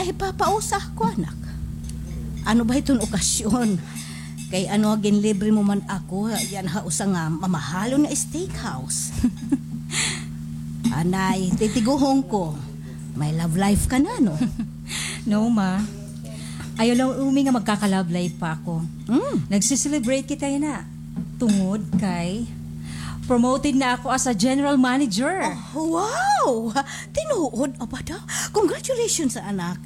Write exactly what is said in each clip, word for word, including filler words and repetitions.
Ipapausa ako, anak. Ano ba iton okasyon? Kay ano, ginlibre mo man ako yana ha usa nga mamahalon nga steakhouse. Anay, titiguhon ko. May love life ka na, no? No, ma. Ayaw la umi nga magkaka-love life pa ako. Mm. Nagse-celebrate kita yana. Tungod kay promoted na ako as a general manager. Oh, wow! Tinuod, aba daw. Congratulations, anak.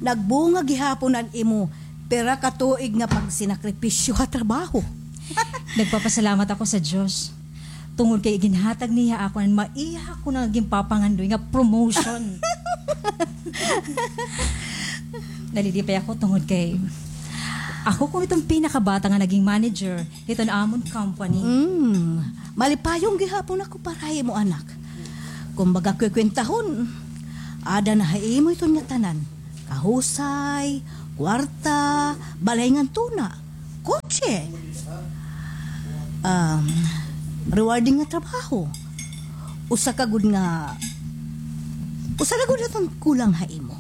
Nagbunga gihapon an imo pira ka tuig nga pagsinakripisyo ha trabaho. Nagpapasalamat ako sa Diyos. Tungod kay iginhatag niya ako an maiha ko nga ginpapangandoy nga promotion. Nalilipay ako tungod kay ako kuno iton pinakabata nga naging manager hiton amon company. Mm. Malipayon gihapon ako para ha imo, anak. Kumbaga, kwekwentahon, ada na ha imo iton nga tanan. Kahusay, kwarta, balay ngan tuna, kotse. Um, rewarding nga trabaho. Usa ka gud nga, usa ka gud iton kulang ha imo.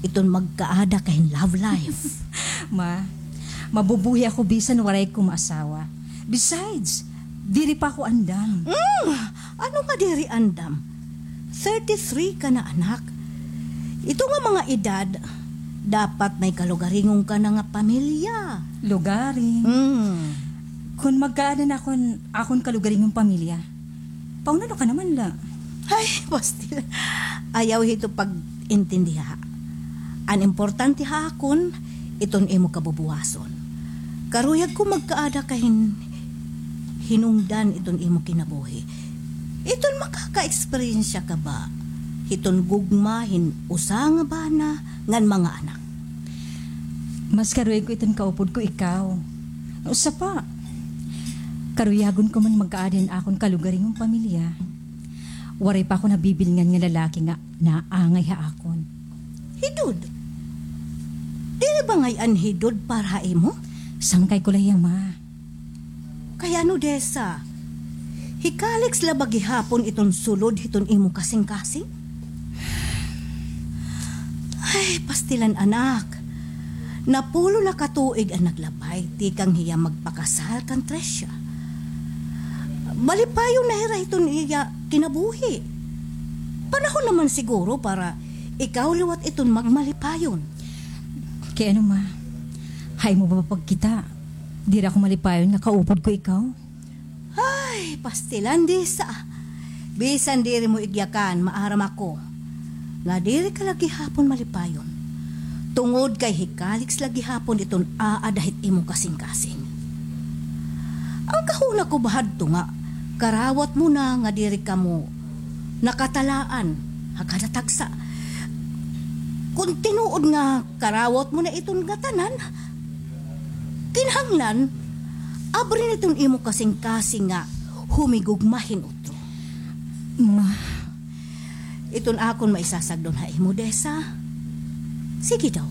Iton magkaada ka hin love life. Ma, mabubuhi ako bisan waray ko maasawa. Besides, diri pa ako andam. Mm, ano nga diri andam? Thirty-three ka na, anak. Ito nga mga edad, dapat may kalugaringon ka na nga pamilya. Lugaring? Mm. Kon magkaada na akon, akon kalugaringon pamilya, paunano ka naman la? Ay, pastil. Ayaw hito pag-intindiha. An importante ha akon, iton imo kabubuwason. Karuyag ko magkaada ka hin hinungdan iton imo kinabuhi. Iton makaka-eksperyensya ka ba hiton gugma hin usa nga bana ngan mga anak? Mas karuyag ko iton kaupod ko ikaw. Usa pa, karuyagon ko man magkaada hin akon kalugaringon pamilya. Waray pa ako nabibilngan nga lalaki nga naangay ha akon. Hidod? Diri ba ngay-an hidod para ha imo? Sangkay ko la hiya, ma. Kay ano, Desa? Hikaliks la ba gihapon iton sulod hiton imo kasingkasing? Ay, pastilan, anak. Napulo na ka tuig an naglabay tikang hiya magpakasal kan Tricia. Malipayon na hira hiton iya kinabuhi. Panahon naman siguro para ikaw liwat iton magmalipayon. Kay ano, ma? Ha imo ba pagkita, diri ako malipayon nga kaupod ko ikaw? Ay, pastilan, Desa. Bisan diri mo igyakan, maaram ako nga diri ka la gihapon malipayon. Tungod kay hikaliks la gihapon iton aada hit imo kasingkasing. An kahuna ko ba hadto nga karawat mo na nga diri kamo nakatalaan ha kada tagsa. Kon tinuod nga karawat mo na iton ngatanan, kinahanglan abri na iton imo kasingkasing nga humigugma hin utro. Ma. Iton akon maisasagdon ha imo, Desa. Sige daw.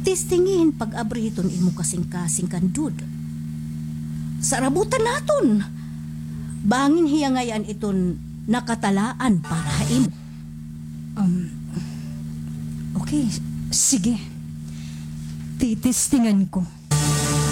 Testingi hin pag-abri hiton imo kasingkasing kan Dud. Sarabutan naton. Bangin hiya ngay-an iton nakatalaan para ha imo. Um, okay, sige. Titistingan ko.